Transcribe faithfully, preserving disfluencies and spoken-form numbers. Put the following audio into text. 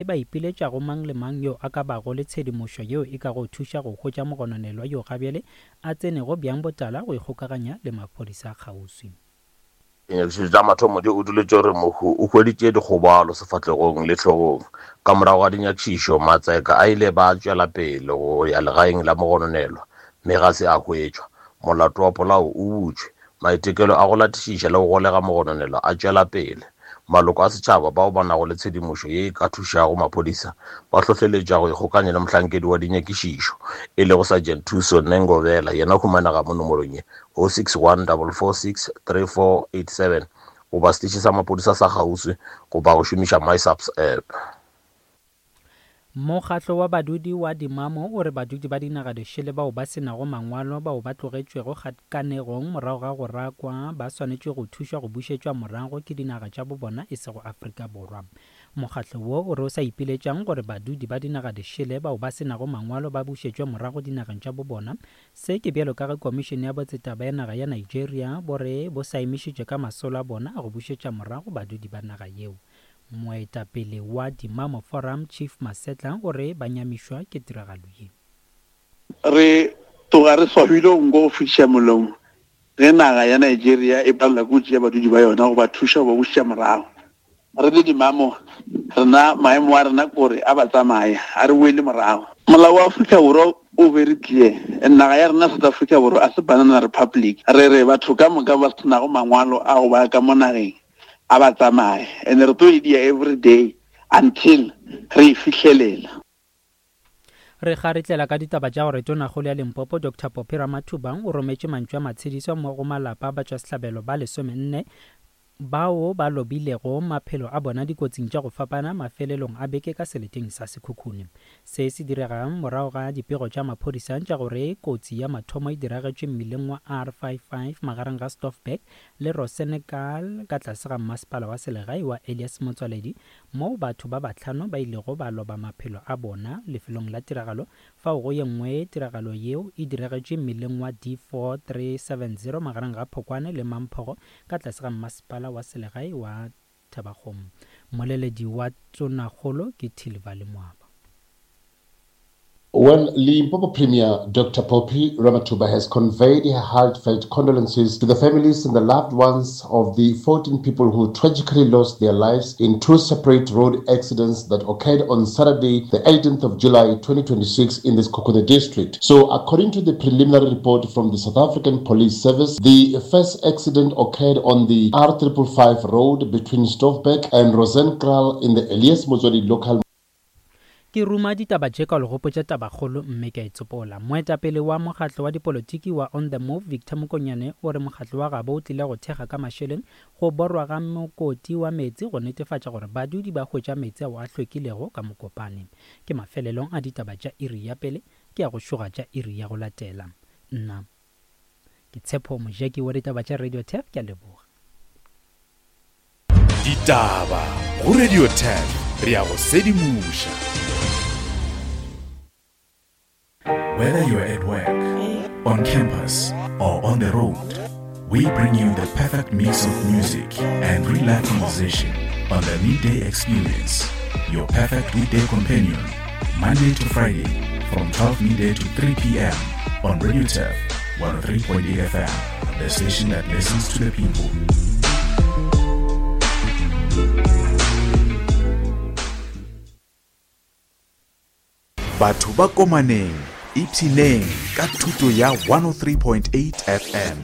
Ba ipiletša go mang le mang yo a ka bago le tshedimošo yeo e ka go thuša go hwetša mogononelwa yo gabjale a tsenego bjang botala go ikgokaganya le maphodisa a kgauswi. Dinyakišišo tša mathomo di utolotše gore mohu o hweditše dikgobalo sefahlegong le hlogong. Ka morago ga dinyakišišo, matseka a ile ba tšwela pele go ya legaeng la mogononelwa mme ga se a hwetšwa. Molato wa polao o butšwe. Maitekelo a go latišiša le go golega mogononelwa a tšwela pele. Maloko a setšhaba bao ba nago le tshedimošo ye e ka thušago maphodisa ba hlohleletšwa go ikgokanya le mohlankedi wa dinyakišišo e lego Sergeant Thuso Nengovhela, yena o humanega mo nomorong ye oh six one double four six three four eight seven goba seteše sa maphodisa sa kgauswi goba go šomiša MySAPS app. Mokgatlo wa badudi wa Dimamo o re badudi ba dinaga dišele bao ba se nago mangwalo bao ba tlogetšwego kgakanegong morago ga go rakwa ba swanetše go thušwa go bušetšwa morago ke dinaga tša bobona e sego Afrika Borwa. Mokgatlo wo o re o sa ipiletšang gore badudi ba dinaga dišele bao ba se nago mangwalo ba bušetšwe morago dinageng tša bobona. Se ke bjalo ka ge Komišene ya Botsetaba ya naga ya Nigeria bo re bo sa emišitše ka masolo a bona a go bušetša morago badudi ba naga yeo. Moetapele wa Dimamo Forum Chief Masetla o re ba nyamišwa ke tiragalo ye. Re tloga re swabile nko go fetiša molomo ge naga ya Nigeria e palela ke go tšea badudi ba yona go ba thuša go ba bušetša morago. Re le Dimamo rena maemo a rena kore a ba tsamaye, a re boele morago. Molao wa Afrika Borwa o very clear. Naga ya rena South Africa Borwa a se banana republic. Re re batho ka moka ba senago mangwalo a go ba ka mo nageng a ba tsamaye, and re tlo e dia every day until re e fihlelela. Re kgaretlela ka ditaba tša gore Tonakgolo ya Limpopo Doctor Phophi Ramathuba o rometše mantšu a matshediso mo go malapa a batšwasehlabelo ba lesomenne bao ba lobilego maphelo a bona dikotsing tša go fapana mafelelong a beke ka seleteng sa Sekhukhune. Se se diregang morago ga dipego tša maphodisa tša gore kotsi ya mathomo e diragetše mmileng wa R fifty-five magareng ga Stoffberg le Rosenekal ka tlase ga mmasepala wa selegae wa Elias Motsoaledi, moo batho ba bahlano ba ilego ba loba maphelo a bona lefelong la tiragalo. Fao go ye nngwe tiragalo yeo e diragetše mmileng wa D four three seven zero magareng ga Phokwane le Mamphogo ka tlase ga mmasepala wa selegae wa Thabakgomo. Mmoleledi wa Tonakgolo ke Thilivhali Madiba. Well, Limpopo Premier Doctor Phophi Ramathuba has conveyed her heartfelt condolences to the families and the loved ones of the fourteen people who tragically lost their lives in two separate road accidents that occurred on Saturday, the eighteenth of July twenty twenty-six in the Sekhukhune district. So, according to the preliminary report from the South African Police Service, the first accident occurred on the R triple five road between Stoffberg and Rosenkraal in the Elias Motsoaledi local. Ke ruma ditaba tše ka legopotša tabakgolo mme ka e tsopola. Moetapele wa mokgatlo wa dipolotiki wa On The Move Victor Mokonyane o re mokgatlo wa gabo o tlile go thekga ka mašeleng go borwa ga mokoti wa meetse go netefatša gore badudi ba hwetša meetse ao a hlwekilego ka Mokopane. Ke mafelelong a ditaba tša iri ya pele, ke ya go šoga tša iri ya go latela. Nna ke Tshepo Mojeki wa ditaba tša Radio Turf, ke a leboga. Ditaba go Radio Turf, re ya go sedimoša. Whether you're at work, on campus, or on the road, we bring you the perfect mix of music and real-life conversation on the Midday Experience, your perfect weekday companion, Monday to Friday from twelve midday to three p.m. on Radio Turf one oh three point eight F M, the station that listens to the people. Batho ba komaneng, ipshineng ka thuto ya one oh three point eight F M.